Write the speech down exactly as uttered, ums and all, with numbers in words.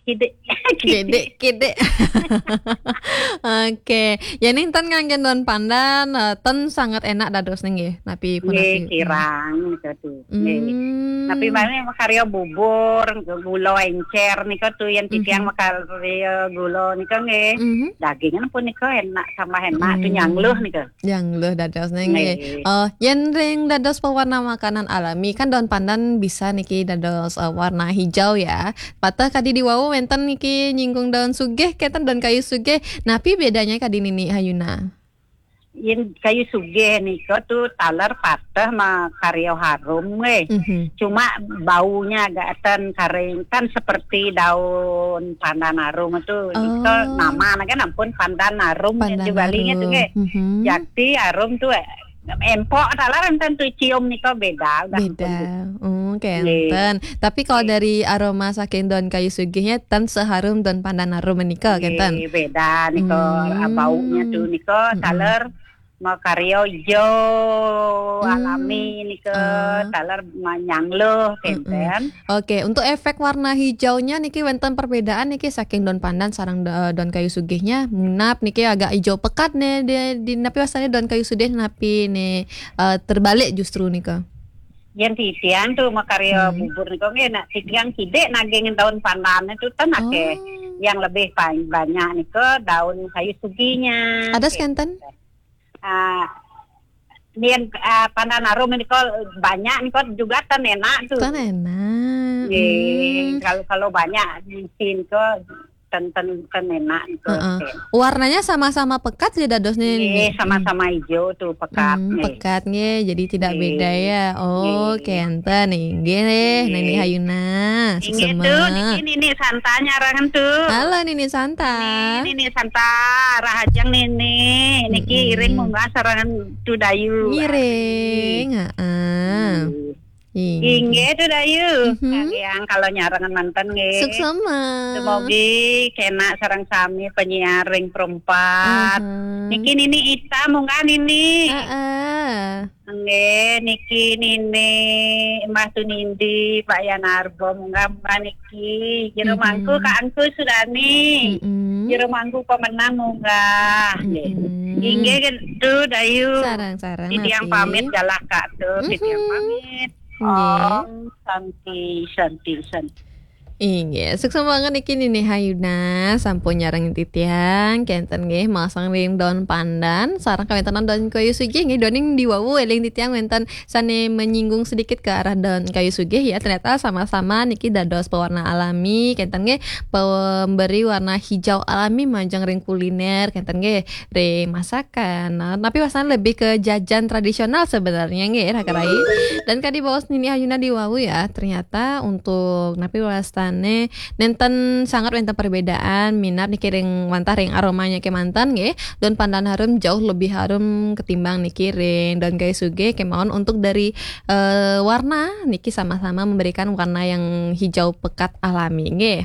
Kidik. Kidik, kidik. Oke. Yén ten nganggén daun pandan, eh, ten sanget enak dados nggih. Napi punapi? Nggih, kirang nika tu. Nggih. Hmm. Tapi mami makarya bubur, gula encer nika tu yén titiang makarya gula nika nggih. Mhm. Dagingan punika enak, tambah enak tu nyangluh nika. Nyangluh dados nggih. Nggih. Eh, yén ring dados pewarna makanan alami, kan daun pandan bisa niki dados, eh, warna hijau ya. Pateh kadi diwau wénten niki nyinggung daun sugih, kénten daun kayu sugih. Napi bedanya kadi Nini Hayuna? Yén kayu sugih nika tu taler pateh makarya harum nggih. Mhm. Cuma baunya agak ten karing, kan seperti daun pandan harum tu. Nika nama kan ampun pandan harum. Pandan di Bali nya tu nggih. Mhm. Jakti harum tu, eh, empok taler enten tu cium nika beda. Beda. Oh, kénten. Nggih. Tapi kalau dari aroma saking daun kayu sugihnya ten seharum daun pandan harum menika, kénten? Nggih, beda nika. Hmm. Baunya tu nika taler makarya ijo alami nika, taler manyangluh, kénten. Oke, untuk efek warna hijaunya niki wénten perbedaan niki saking daun pandan sareng da-, daun kayu sugihnya, minab niki agak ijo pekat nih di, di napi wastane daun kayu sugih napi nih, eh, terbalik justru nika. Yén titiang tu makarya bubur nika nggih, nak titiang kidik naging daun pandan tu ten akeh. Oh. Yang lebih pa-, banyak nika daun kayu sugihnya. Ada kénten? Ah, yén, ah, pandan harum nika banyak nika juga ten enak tu. Ten enak. Nggih, kalau, kalau banyak isi nika ten, ten, ten enak nika. Heeh. Warnanya sama-sama pekat ya dadosnya ini? Nggih, sama-sama ijo tu pekat nggih. Pekat nggih, jadi tidak beda ya. Oh, kénten inggih, Nini Hayuna. Inggih tu, niki Nini Santa nyarangan tu. Halo Nini Santa. Nini, Nini Santa, rahajeng Nini. Niki iring munggah sareng Tu Dayu. Ngiring, heeh. Inggih. Inggih Tu Dayu. Mhm. Kalian kalau nyarangan manten nggih. Suksma. Semogi kena sareng sami penyiar ring perempat. Aha. Niki Nini Ita munggah Nini. Heeh. Nggih, niki Nini Mbah Tunindi, Pak Yanarbo, munggah-munggah niki. Jero mangku Kak Angku Sudani. Jero mangku pemenang munggah. Nggih. Inggih Tu Dayu. Sareng-sareng. Titiang pamit galah Kak Tu. Titiang pamit. Nggih. Om Santi, Santi, Santi. Inggih, suksma banget niki Nini Hayuna, sampun nyarengin titiang, kénten nggih, masang ring daun pandan, sareng kawéntenan daun kayu sugih nggih, daun ing diwawu éling titiang wénten sané menyinggung sedikit ke arah daun kayu sugih ya, ternyata sama-sama niki dados pewarna alami, kénten nggih, pemberi warna hijau alami majeng ring kuliner, kénten nggih, ring masakan. Nah, tapi wastane lebih ke jajan tradisional sebenarnya nggih, Raka Rai. Dan kadi baos Nini Hayuna diwawu ya, ternyata untuk napi wastane nénten sanget wénten perbedaan minab niki ring wantah ring aromanya kémanten nggih. Daun pandan harum jauh lebih harum ketimbang niki ring daun kayu sugih kémawon untuk dari, eh, warna niki sama-sama memberikan warna yang hijau pekat alami nggih.